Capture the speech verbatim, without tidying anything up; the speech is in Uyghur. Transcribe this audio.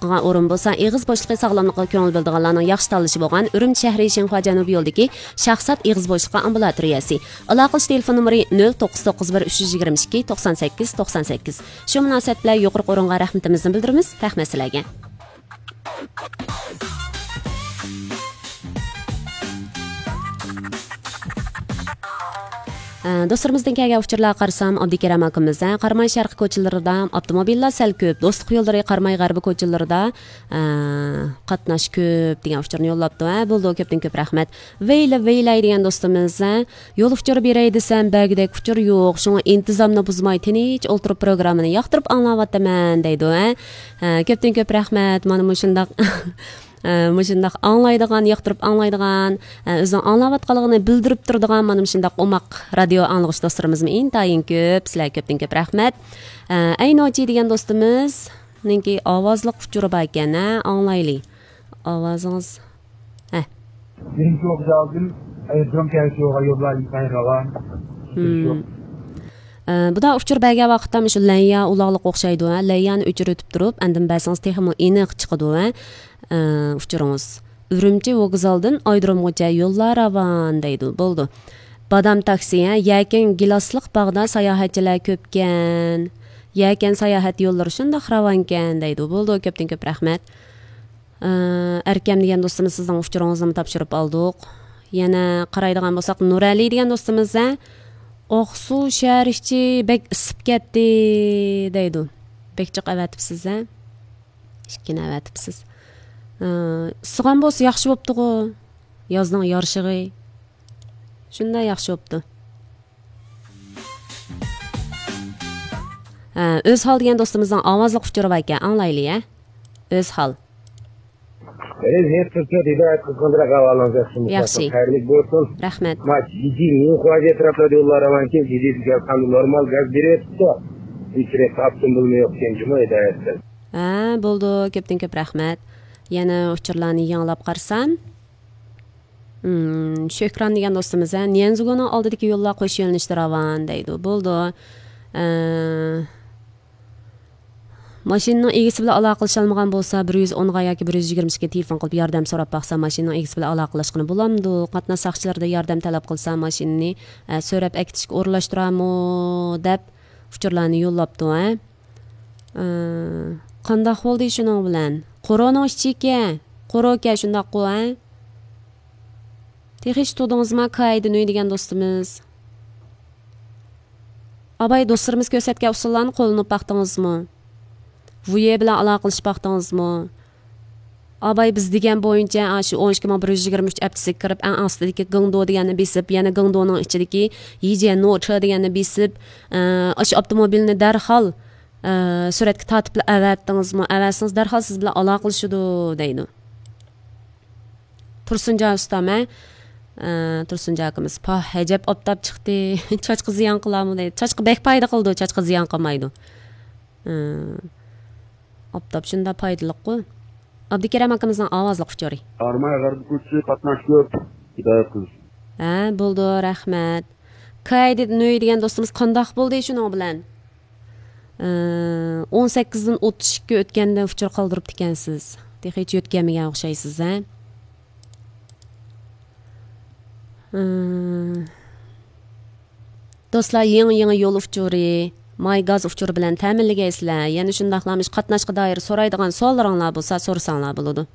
قىلغان ئورۇن بولسا، ئېغىز بوشلۇقى ساغلاملىقىغا كۆڭۈل بۆلىدىغانلارنىڭ ياخشى تاللىشى بولغان ئۈرۈمچى شەھىرى شىنخۇا جەنۇبىي يولىدىكى شاھزات ئېغىز بوشلۇقى ئامبۇلاتورىيەسى. ئالاقىلىشىش تېلېفون نومۇرى نۆل توققۇز توققۇز بىر ئۈچ يۈز يىگىرمە ئىككى توقسان سەككىز توقسان سەككىز. شۇ مۇناسىۋەت بىلەن يۇقىرىقى ئورۇنغا رەھمىتىمىزنى بىلدۈرىمىز. رەھمەت سىلەرگە. ئە، دوستلىرىمىزدىن كەلگەن ئۇچۇرلارغا قارىسام، ئابدۇكېرەم ئاكىمىز، ھە، قاراماي شەرقىي كوچىلىرىدا ئاپتوموبىللار سەل كۆپ، دوستلۇق يوللىرى، قاراماي غەربىي كوچىلىرىدا، ئە، قاتناش كۆپ دېگەن ئۇچۇرنى يوللاپتۇ. ھە، بولدى، كۆپتىن كۆپ رەھمەت. ۋەيلە، ۋەيلەي دېگەن دوستىمىز، ھە، يول ئۇچۇرى بېرەي دېسەم، بەرگۈدەك ئۇچۇر يوق، شۇڭا ئىنتىزامنى بۇزماي، تىنچ ئولتۇرۇپ پروگراممىنى ياقتۇرۇپ ئاڭلاۋاتىمەن، دەيدۇ، ھە. ھە، كۆپتىن كۆپ رەھمەت. مانا مۇشۇنداق، ئە، مۇشۇنداق ئاڭلايدىغان، ياقتۇرۇپ ئاڭلايدىغان، ئە، ئۆزىنىڭ ئاڭلاۋاتقانلىقىنى بىلدۈرۈپ تۇرىدىغان مانا مۇشۇنداق ئوماق رادىيو ئاڭلىغۇچى دوستلىرىمىزمۇ ئىنتايىن كۆپ. سىلەرگە كۆپتىن كۆپ رەھمەت. ئە، ئەينوچى دېگەن دوستىمىزنىڭكى ئاۋازلىق ئۇچۇرى باركەن، ھە، ئاڭلايلى. ئاۋازىڭىز، ھە. Birinci Okçal'cım, Erzurum Kerçoğlu'na yollar yıkayın ravan. Hmm. ئە، بۇدا ئۇچۇر بەرگەن ۋاقىتتا مۇشۇ لەنيا ئۇلاغلىق ئوخشايدۇ، ھە؟ لەنيانى ئۆچۈرۈۋېتىپ تۇرۇپ، ئاندىن بەرسىڭىز تېخىمۇ ئېنىق چىقىدۇ، ھە؟ ئە، ئۇچۇرىڭىز. ئۈرۈمچى ۋوگزالدىن ئايرودرومغىچە يوللار راۋان دەيدۇ. بولدى. بادام تاكسى، ھە؟ يەكەن گىلاسلىق باغدا ساياھەتچىلەر كۆپكەن. يەكەن ساياھەت يوللىرى شۇنداق راۋانكەن دەيدۇ. بولدى، كۆپتىن كۆپ رەھمەت. ئە، ئەركەم دېگەن دوستىمىز، سىزنىڭ ئۇچۇرىڭىزنىمۇ تاپشۇرۇپ ئالدۇق. يەنە قارايدىغان بولساق، نۇرئەلى دېگەن دوستىمىز، ھە، ئاقسۇ شەھەر ئىچى بەك ئىسسىپ كەتتى دەيدۇ. بەك جىق ئەۋەتىپسىز، ھە؟ ئىككىنى ئەۋەتىپسىز. ئە، ئىسسىغان بولسا ياخشى بوپتىغۇ. يازنىڭ يارىشىغى. شۇنداق ياخشى بوپتۇ. ھە، ئۆزھال دېگەن دوستىمىزنىڭ ئاۋازلىق ئۇچۇرى باركەن، ئاڭلايلى، ھە. ئۆزھال. Benim her fırsat hidayet kısmında kahvaltınız yapsın. Yaxşı. Hayırlı olsun. Rahmet. Maç, Cici, New Kuazi etrafında yollar ravan ki, Cici bir normal gaz bir etti. Üç rep attım bulma yok gençim o hidayetten. ھە، بولدى، كۆپتىن كۆپ رەھمەت. يەنە ئۇچۇرلارنى يېڭىلاپ قارىسام. مم، شۆھران دېگەن دوستىمىز، ھە، نيەنزۇگۇنىڭ ئالدىدىكى يوللار قوش يۆنىلىشتە راۋان دەيدۇ. بولدى. ئە، ماشىنىنىڭ ئىگىسى بىلەن ئالاقىلىشالمىغان بولسا، بىر يۈز ئونغا ياكى بىر يۈز يىگىرمە ئىككىگە تېلېفون قىلىپ ياردەم سوراپ باقسا، ماشىنىنىڭ ئىگىسى بىلەن ئالاقىلاشقىلى بولامدۇ؟ قاتناش ساقچىلىرىدىن ياردەم تەلەپ قىلسا، ماشىنىنى، ئە، سۆرەپ ئەكېتىشكە ئورۇنلاشتۇرامۇ؟ دەپ ئۇچۇرلارنى يوللاپتۇ، ھە. ئە، قانداق بولدى شۇنىڭ بىلەن؟ قورۇنىڭ ئىچىكەن، قورۇكەن شۇنداققۇ، ھە؟ تېخى ھېچ تۇدىڭىزما كايدىنۈي دېگەن دوستىمىز؟ ئاباي دوستلىرىمىز كۆرسەتكەن ئۇسۇللارنى قوللىنىپ باقتىڭىزمۇ؟ ۋۇيې بىلەن ئالاقىلىشىپ باقتىڭىزمۇ؟ ئاباي بىز دېگەن بويىچە، ئاشۇ ئون ئىككى مىڭ بىر يۈز يىگىرمە ئۈچ ئەپچىسىگە كىرىپ، ئەڭ ئاستىدىكى گېڭدو دېگەننى بېسىپ، يەنە گېڭدونىڭ ئىچىدىكى يىجيەننوچې دېگەننى بېسىپ، ئە، ئاشۇ ئاپتوموبىلنى دەرھال، ئە، سۈرەتكە تارتىپلا ئەۋەتتىڭىزمۇ؟ ئەۋەتسىڭىز، دەرھال سىز بىلەن ئالاقىلىشىدۇ، دەيدۇ. تۇرسۇنجان ئۇستام، ھە؟ ئە، تۇرسۇنجان ئاكىمىز، پاھ، ئەجەب ئاپتاپ چىقتى. چاچقا زىيان قىلارمۇ دەيدۇ. چاچقا بەك پايدا قىلىدۇ، چاچقا زىيان قىلمايدۇ. ئە، ئاپتاپ شۇنداق پايدىلىققۇ. ئابدۇكېرەم ئاكىمىزنىڭ ئاۋازلىق ئۇچۇرى. قاراماي غەربىي كوچىسى قاتناش كۆپ. ھىدايەت قىلسۇن. ھە، بولدى، رەھمەت. كايدىت نۆي دېگەن دوستىمىز قانداق بولدى شۇنىڭ بىلەن؟ ئە، ئون سەككىزدىن ئوتتۇز ئىككى ئۆتكەندە ئۇچۇر قالدۇرۇپتىكەنسىز. تېخىچە يۆتكەلمىگەن ئوخشايسىز، ھە؟ ئە، دوستلار، يېڭى، يېڭى يول ئۇچۇرى، ماي گاز ئۇچۇرى بىلەن تەمىنلىگەيسىلەر. يەنە شۇنداقلا مۇشۇ قاتناشقا دائىر سورايدىغان سوئاللىرىڭلار بولسا، سورىساڭلار بولىدۇ.